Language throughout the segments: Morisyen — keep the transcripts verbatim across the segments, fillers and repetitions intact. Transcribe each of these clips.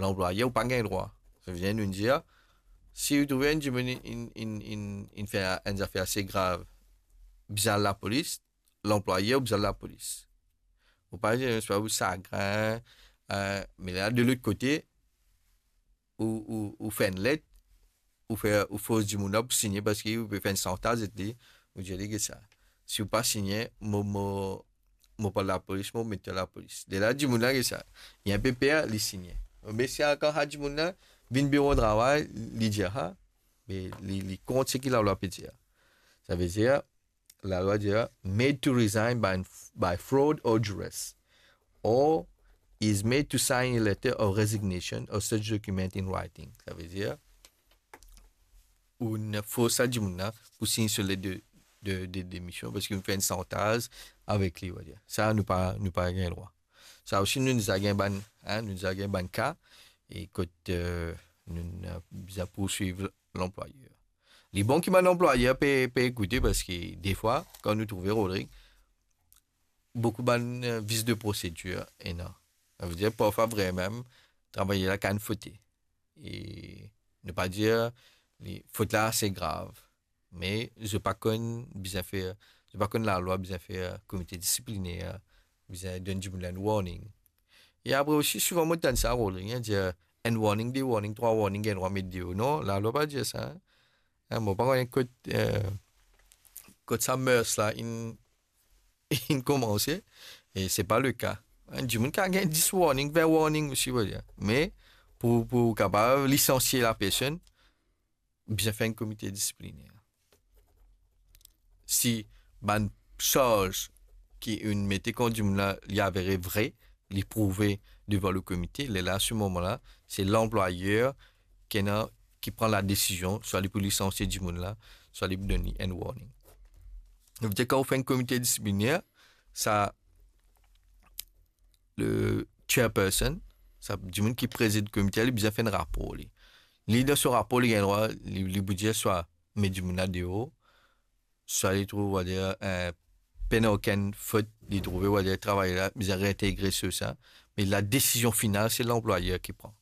lanplwayer ou pa gagn drwa. Savedir, nou dir, si ou trouve enn dimoun inn, inn, inn, inn fer enn zafer ase grav, bizin al lapolis, lanplwayer bizin al lapolis. Ou pa dir, se pa ou sagrin, eh, me la, de lot kote, ou, ou, ou fer enn let, ou fer, ou fors dimoun la pou signe parski ou pe fer enn santaz avek li, ou dir li, "Get sa. Si ou pa signe, mo, mo, mo pou al lapolis, mo met twa lapolis." Lerla dimoun la, get sa, li inpe per, li signe. Me si ankor sa dimoun la vinn biro travay, li dir sa, me li, li kont seki lalwa pe dir. Savedir, lalwa dir, "Made to resign by, by fraud or duress, or is made to sign a letter of resignation or such document in writing." Savedir, ou fors sa dimoun la pou sign so let de, de, de demision, parski ou fer enn santaz avek li, on va dir. Sa, nou pa, nou pa gagn drwa. Sa osi, nou, nou deza gagn bann, hein, nou deza gagn bann ka, e kot, eh, nou, nou bizin pourswiv lanplwayer. Li bon ki bann lanplwayer pe, pe ekoute, parski defwa, kan nou trouve, Rodrigue, boukou bann, eh, vis de prosedir ena. Savedir, parfwa vremem, travayer la kapav fote. E nou pa dir, li, fot la ase grav, me zot pa konn bizin fer, zot pa konn lalwa bizin fer komite disipliner, bizin donn dimoun la enn warning. E apre osi, souvan mo tann sa, Rodrigue, hein, dir, enn warning, de warning, trwa warning, gagn drwa met deor. Non, lalwa pa dir sa, hein. Hein, mo pa kone kot, eh, kot sa mers la inn, inn koumanse, e se pa leka. Enn dimoun kapav gagn dis warning, vin warning osi, on va dir. Me pou, pou kapav lisansie lapersonn, bizin fer enn komite disipliner. Si bann sarz ki inn mete kont dimoun la, li avere vre, li prouve devan le komite, lerla, se moman la, se lanplwayer ki ena, ki pran ladesizion, swa li pou lisansie dimoun la, swa li pou donn li enn warning. Savedir, kan ou fer enn komite disipliner, sa, le chairperson, sa dimoun ki prezid komite, li bizin fer enn rapor, li. Li, dan so rapor, li gagn drwa, li, li pou dir swa met dimoun la deor, swa li trouv, on va dir, eh, pena okenn fot, li trouve, on va dir, travayer la bizin reintegre sir sa, me ladesizion final, se lanplwayer ki pran.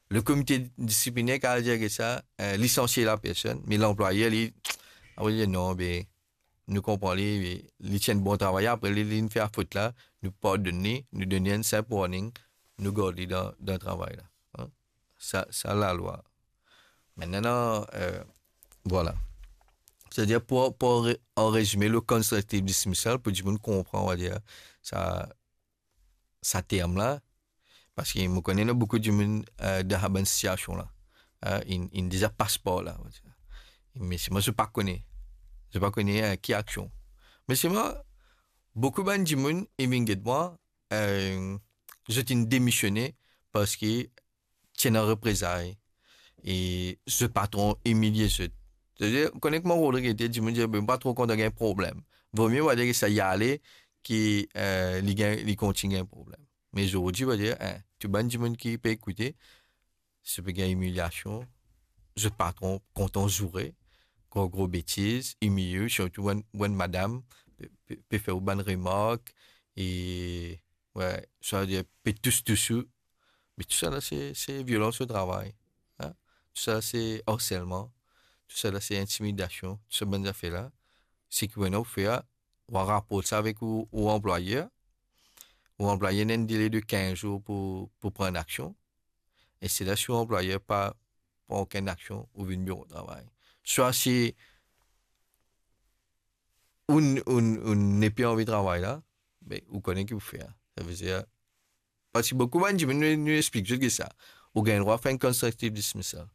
Le komite disipliner kapav dir ki sa, eh, lisansie lapersonn, me lanplwayer, li, ah wi, non, be, nou konpran li, li, li ti enn bon travayer, apre li, li finn fer fot la, nou pardonn li, nou donn li enn sinp warning, nou gard li dan, dan travay la. Hein? Sa, sa lalwa. Mintnan, eh, vwala. Savedir, pou, pou re-, an rezime, le constructive dismissal, pou dimoun konpran, on va dir, sa, sa term la, parski mo kone ena boukou dimoun, eh, dan sa bann sitiasion la, eh, inn, inn deza pas par la, on va dir. Me selman zot pa kone, zot pa kone, eh, ki aksion. Me selman, boukou bann dimoun inn vinn get mwa, eh, zot inn demisione parski ti ena reprezay, e zot patron imilie zot. Savedir, kouma Rodrigue ete, dimoun dir, "Be, mo pa tro kontan gagn problem." Vomie, on va dir, ki sa li ale, ki, eh, li gagn, li kontign gagn problem. Me zordi, on va dir, eh, tou bann dimoun ki pe ekoute, si pe gagn imiliasion, zot patron kontan zoure, gro, gro betiz, imilie, sirtou bann, bann madam, pe, pe, pe fer ou bann remark, e, wi, savedir, pe tous, tous ou, me tou sa la, se, se violans o travay, hein? Tou sa la, se arselman, tou sa la, se intimidasion, tou sa bann zafer la. Seki ou ena pou fer, ou raport sa avek ou, ou anplwayer. Ou anplwayer ena enn dele de kinz zour pou, pou pran enn aksion. E se la, si ou anplwayer pa pran okenn aksion, ou vinn biro travay. Swa si ou n-, ou n-, ou nepli anvi travay la, be, ou kone ki pou fer. Savedir, parski boukou bann dimoun, nou, nou explik zot ki sa. Ou gagn drwa fer enn constructive dismissal.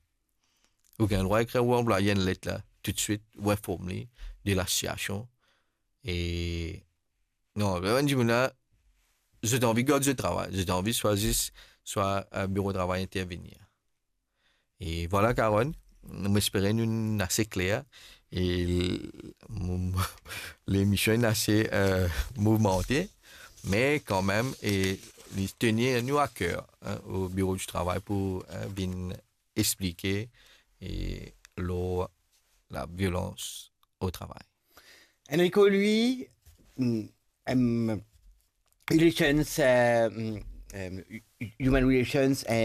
Ou gagn drwa ekrir ou anplwayer enn let la, toutswit, ou inform li de lasitiasion. E non, bann dimoun la, zot anvi gard zot travay, zot anvi swa zis, swa, eh, biro travay intervenir. E vwala, Carole, mo espere nou inn ase kler. E l-, mo, mo, lemision inn ase, eh, mouvmante, me kanmem, e li tenir nou a ker, hein, o biro di travay pou, eh, vinn explike, e lor laviolans o travay. Enrico, lui, mm, em, relations, eh, mm, em, hu-, human relations and